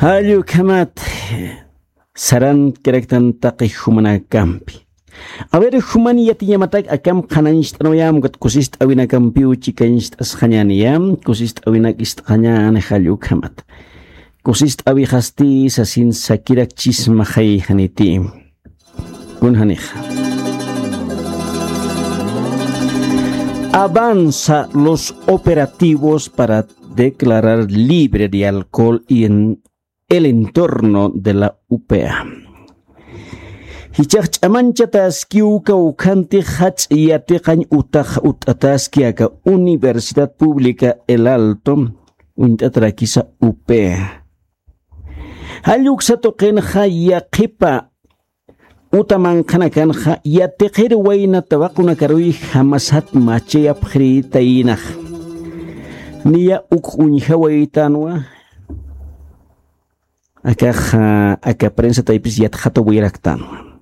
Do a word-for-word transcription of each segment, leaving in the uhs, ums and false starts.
Jallukhamat sarankaraktan taqi jumanakampi. A ver, juman yatiñamatak akam qhanañcht'anwayam ukat kusist'awinakampiw chikancht'asxañäniyam, kusist'awinak ist'xañän jallukhamat. Kusist'awixasti sasin sakirakchismaxay janiti. Kunjanixa. Avanza los operativos para declarar libre de alcohol y en el entorno de la U P A. Jichhax ch'amanchataskiw kawkhanti jach'a yatiqañ utax ut'ataski aka Universidad Pública El Alto, uñt'atarakisa U P A. Jalluksa tuqinxa yaqhipa uta manqhanakanxa yatiqir wayna tawaqunakaruy jamasat machayapxirïtaynax. Niya uk uñjawaytanwa. Akax aka prensa taypis yatxatawayaraktanwa.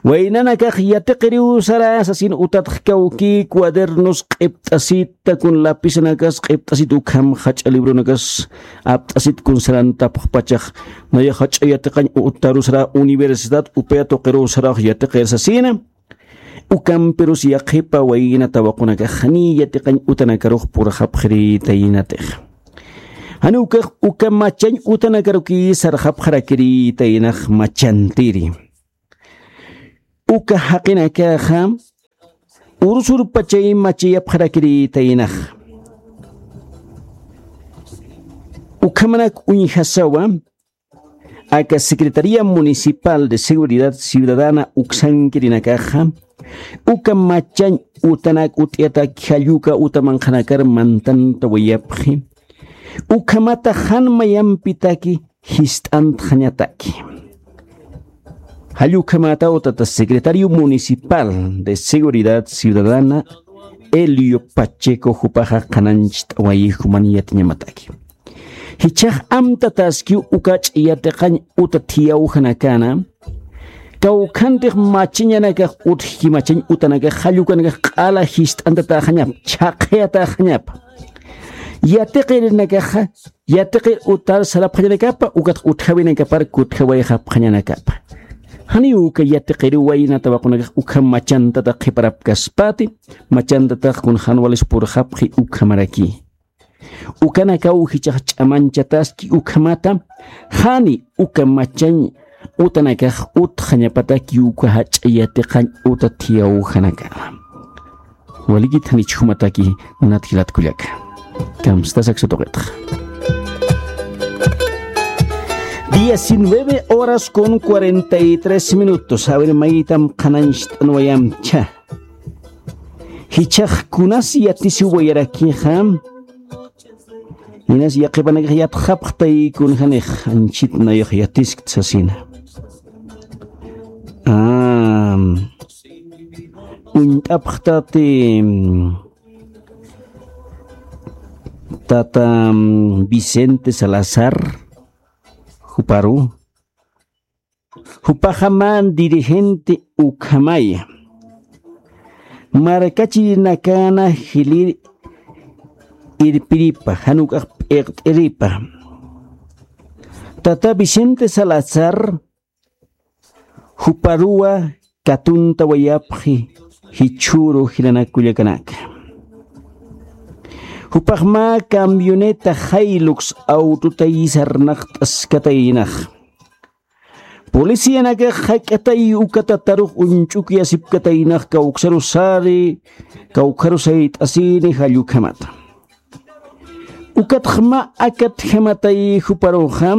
Waynanakax yatiqiriw sara sasin utatx kawki cuadernos q'ipt'asita kun lapisanakas q'ipt'asit ukham jach'a libronakas apt'asit kun sarantapxpachax. Naya jach'a yatiqañ utaru sara universidad U P A tuqiruw sarax yatiqir sasina. Ukampirus yaqhipa wayna tawaqunakax janiy yatiqañ utanakarux purxapxirïtaynatix. Jani ukax uka machañ utanakarukiy sarxapxarakirïtaynax machantiri. Uka jaqinakaxa ursurpachay machayapxarakirïtaynax. Ukhamanak uñjasawa aka Secretaría Municipal de Seguridad Ciudadana uksankirinakaxa uka machañ utanak ut'yatak jalluka uta manqhanakar mantantawayapxi. Ukhamata jan mayampitaki jist'antxañataki. Jallukhamata utata Secretario Municipal de Seguridad Ciudadana Elio Pacheco jupaxa qhanancht'awayi juman yatiñamataki. Jichhax amtataskiw ukach'a yatiqañ uta thiyawjanakana kawkhantix machañanakax utjki machañ utanakax jallukanakax q'ala jist'antatäxañap chhaqhayatäxañap. Yatiqirinakaxa yatiqir utar sarapxañanakapa ukatx utjawinakapar kutjawayxapxañanakapa. Janiw uka yatiqiriw wayna tawaqunakax ukham machantata qhiparapkaspati machantatax kun jan walis purxapxi ukhamaraki. Ukanakaw jichhax ch'amanchataski ukhamata jani uka machañ utanakax utxañapataki uka jach'a yatiqañ uta thiyawjanakama. Walikit janich jumataki munat jilat kullaka. Kamstasaksa tuqitxa. Diecinueve horas con cuarenta y tres minutos. A ver, maytam qhanancht'anwayamcha. Jichhax kunas yatisiwayarakixa. Inas yaqhipanakax yatxapxtay kunjanix anchit nayax yatiskt sasina. Uñt'apxtati tata Vicente Salazar juparu. Jupaxaman dirigente ukhamaya markachirinakana jilir irpiripa januk'ax p'iqt'iripa. Tata Vicente Salazar juparuwa katuntawayapxi jichhüru jilanakullakanaka. Jupaxma camioneta Hilux autotayi sarnaqt'askataynax. Policianakax jak'atay uka tatarux uñch'ukyasipkataynax kawksaru sari kawksaru sayt'asini jallukhamata. Ukatxma akatjamatay juparuxa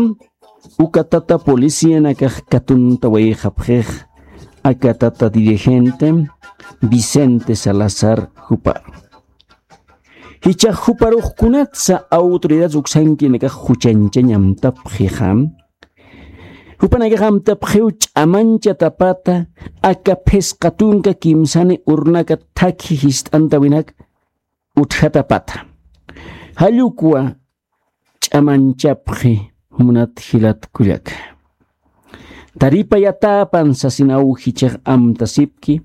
uka tata policianakax katuntawayxapxix aka tata dirigente Vicente Salazar juparu. Jichhax juparux kunatsa autoridad uksankinakax juchañchañ amtapxixa. Jupanakax amtapxiw ch'amañchatapata aka phisqa tunka kimsani urnaka thakhi jist'antawinak utjatapata. Jallukwa ch'amañchapxi munat jilat kullaka. Taripayatäpan sasinaw jichhax amtasipki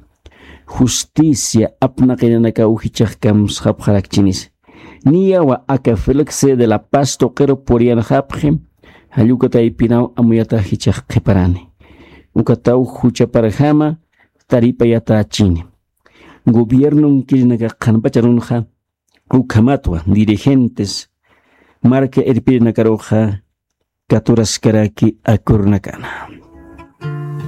justicia apnaqinanakaw jichhax kamsxapxarakchinisa. Niyawa aka Félix de la Paz tuqiru puriyanxapxi Jallukataypinaw amuyatax jichhax qhiparani. Ukataw juchaparjama taripayatächini. Gobiernon kirinakax qhanpacharunxa ukhamatwa dirigentes marka irpirinakaruxa katuraskaraki akornakana.